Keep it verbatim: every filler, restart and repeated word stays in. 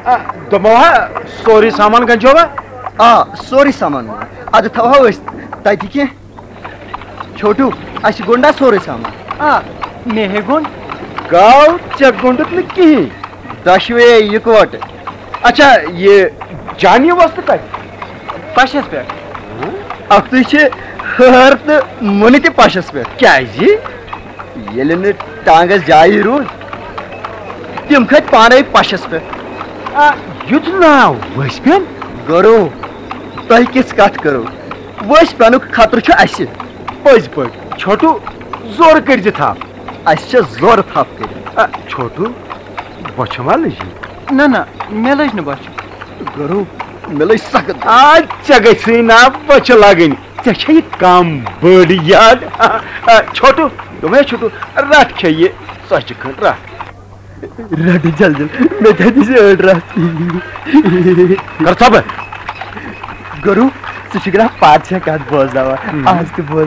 آ، دوٚپمو ہا، سورُے سامان گنجووا؟ آ، سورُے سامان۔ اَدٕ تھاوہو أسۍ تَتہِ کینٛہہ۔ چھوٹوٗ، اَسہِ گوٚنٛڈا سورُے سامان؟ آ، مےٚ ہے گوٚنٛڈ۔ گاو، ژےٚ گوٚنٛڈُتھ نہٕ کِہیٖنۍ۔ دۄشوے یِکوَٹہٕ۔ اچھا، یہِ جان یہِ وۄستہٕ کَتہِ؟ پَشَس پٮ۪ٹھ۔ اَکھتُے چھِ ہٲر تہٕ مُنہِ تہِ پَشَس پٮ۪ٹھ۔ کیٛازِ؟ ییٚلہِ نہٕ ٹانٛگَس جایی روٗد، تِم کھٔتۍ پانَے پَشَس پٮ۪ٹھ۔ آ، یُتھ ناو ؤسۍ پٮ۪ن؟ گۄرو، تۄہہِ کِژھ کَتھ کٔرٕو؟ ؤسۍ پٮ۪نُک خطرٕ چھُ اَسہِ۔ پٔزۍ پٲٹھۍ۔ چھوٹوٗ، زورٕ کٔرۍ زِ تھپھ۔ اَسہِ چھےٚ زورٕ تھپھ کٔرِتھ۔ آ، چھوٹوٗ، بۄچھِ ما لٔجی؟ نہ، نہ، مےٚ لٔج نہٕ بۄچھِ۔ گۄرو، مےٚ لٔج سخت۔ آ، ژےٚ گژھِ نا بۄچھِ لگٕنۍ۔ ژےٚ چھےٚ یہِ کم بٔڑ یاد؟ آ، آ، چھوٹوٗ، دوٚپمَے چھوٹوٗ، رٹھ کھے یہِ ژۄچہِ کھنٛڈ، رٹھ۔ رٹھ جل جل، مےٚ تہِ دِژ أڑ رٹھ۔ کر ژۄپہٕ۔ گۄرو، ژٕ چھُکھ نا پادشاہ کتھ بوزناوان؟ ہم۔ آز تہِ بوز۔